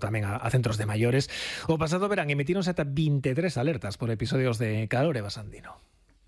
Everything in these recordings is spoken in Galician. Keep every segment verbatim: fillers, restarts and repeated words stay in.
tamén a, a centros de maiores. O pasado verán emitíronse ata vinte e tres alertas por episodios de calor, Eva Sandino.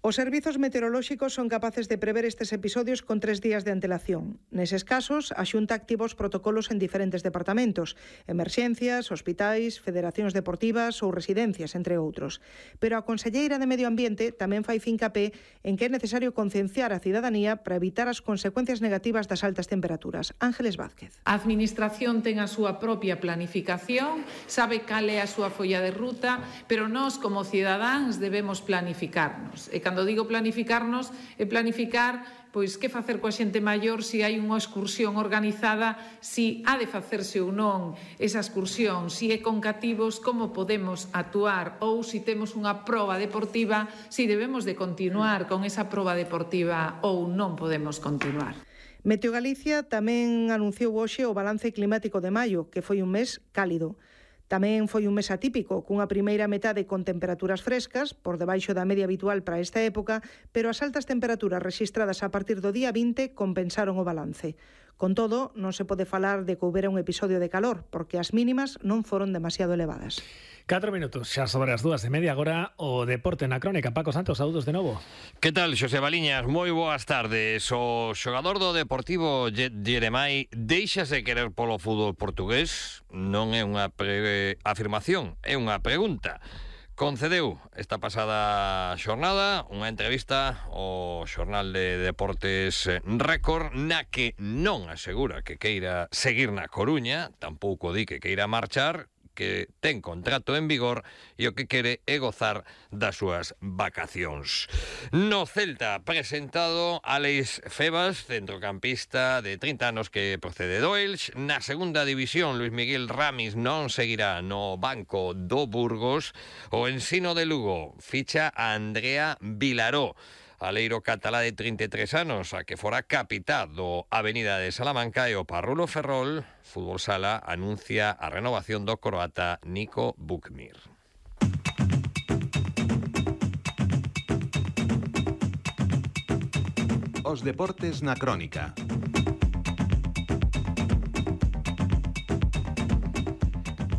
Os servizos meteorolóxicos son capaces de prever estes episodios con tres días de antelación. Neses casos, a Xunta activa os protocolos en diferentes departamentos, emerxencias, hospitais, federacións deportivas ou residencias, entre outros. Pero a conselleira de Medio Ambiente tamén fai fincapé en que é necesario concienciar a cidadanía para evitar as consecuencias negativas das altas temperaturas. Ángeles Vázquez. A Administración ten a súa propia planificación, sabe cal é a súa folla de ruta, pero nós, como cidadáns, debemos planificarnos. E cando digo planificarnos, é planificar pois que facer coa xente maior, se hai unha excursión organizada, se ha de facerse ou non esa excursión, se é con cativos, como podemos actuar, ou se temos unha proba deportiva, se debemos de continuar con esa proba deportiva ou non podemos continuar. Meteo Galicia tamén anunciou hoxe o balance climático de maio, que foi un mes cálido. Tamén foi un mes atípico, cunha primeira metade con temperaturas frescas, por debaixo da media habitual para esta época, pero as altas temperaturas rexistradas a partir do día vinte compensaron o balance. Con todo, non se pode falar de que houbera un episodio de calor, porque as mínimas non foron demasiado elevadas. Catro minutos, xa sobre as dúas e media, agora o deporte na crónica. Paco Santos, saúdos de novo. Que tal, Xosé Baliñas? Moi boas tardes. O xogador do Deportivo Jeremai deixase querer polo fútbol portugués? Non é unha pre- afirmación, é unha pregunta. Concedeu esta pasada xornada unha entrevista ao xornal de Deportes Récord, na que non asegura que queira seguir na Coruña, tampouco di que queira marchar, que ten contrato en vigor e o que quere é gozar das súas vacacións. No Celta, presentado Alex Febas, centrocampista de trinta anos que procede do Elx. Na segunda división, Luis Miguel Ramis non seguirá no banco do Burgos. O Ensino de Lugo ficha a Andrea Vilaró, aleiro catalá de trinta e tres anos, a que fora capitá do Avenida de Salamanca, e o Parrulo Ferrol Fútbol Sala anuncia a renovación do croata Nico Bukmir. Os deportes na crónica.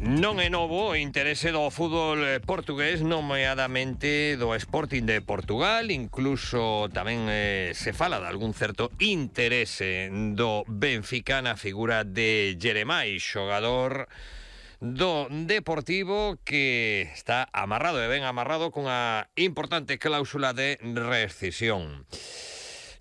Non é novo o interese do fútbol portugués, nomeadamente do Sporting de Portugal. Incluso tamén eh, se fala de algún certo interese do Benfica na figura de Jeremai, xogador do Deportivo que está amarrado e ben amarrado cunha importante cláusula de rescisión.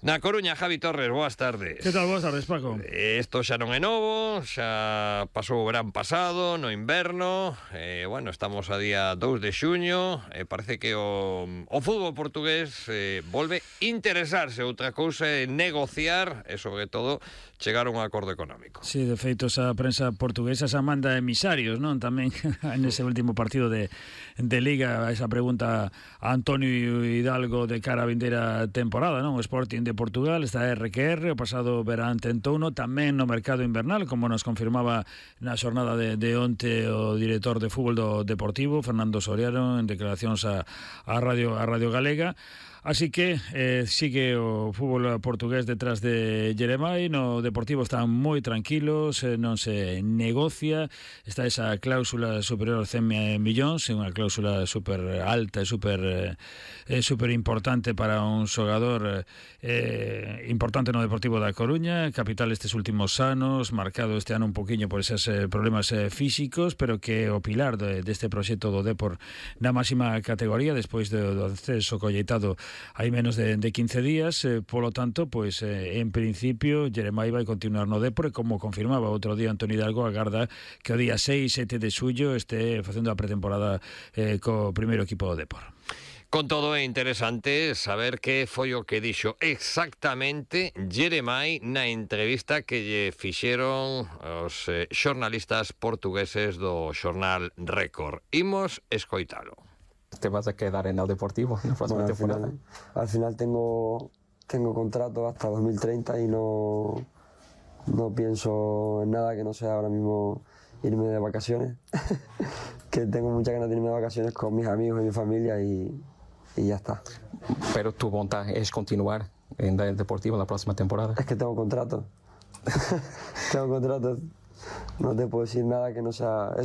Na Coruña, Javi Torres, boas tardes. Que tal, boas tardes, Paco? Isto xa non é novo, xa pasou o verán pasado, no inverno, e, bueno, estamos a día dous de xuño, e parece que o, o fútbol portugués eh, volve interesarse. Outra cousa é negociar e, sobre todo, chegar a un acordo económico. Sí, de feito, esa prensa portuguesa xa manda emisarios, non? Tamén nese último partido de, de Liga, esa pregunta a Antonio Hidalgo de cara a vindeira temporada, non? O Sporting de Portugal está R que R, o pasado verán tentouno tamén no mercado invernal, como nos confirmaba na xornada de, de onte o director de fútbol do Deportivo, Fernando Soriano, en declaracións a, a Radio a Radio Galega. Así que eh, sigue o fútbol portugués detrás de Jeremai. No Deportivo están moi tranquilos, eh, non se negocia, está esa cláusula superior a cen millóns, é unha cláusula super alta e super eh, super importante para un xogador eh, importante no Deportivo da Coruña, capital estes últimos anos, marcado este ano un poquinho por eses eh, problemas eh, físicos, pero que o pilar de, deste proxecto do Depor na máxima categoría, despois do, do acceso colleitado hai menos de, de quince días, eh, polo tanto, pois eh, en principio Jeremai vai continuar no Depor, e como confirmaba outro día Antonio Hidalgo, agarda que o día seis e sete de xullo este facendo a pretemporada eh, co primeiro equipo do Depor. Con todo, é interesante saber que foi o que dixo exactamente Jeremai na entrevista que lle fixeron os eh, xornalistas portugueses do xornal Récord. Imos escoitalo. ¿Te vas a quedar en el Deportivo en la próxima bueno, al temporada? Final, al final tengo, tengo contrato hasta dos mil treinta y no, no pienso en nada que no sea ahora mismo irme de vacaciones. Que tengo muchas ganas de irme de vacaciones con mis amigos y mi familia y, y ya está. Pero tu voluntad es continuar en el Deportivo en la próxima temporada. Es que tengo contrato. Tengo contrato. no te puedo decir nada que no sea eso.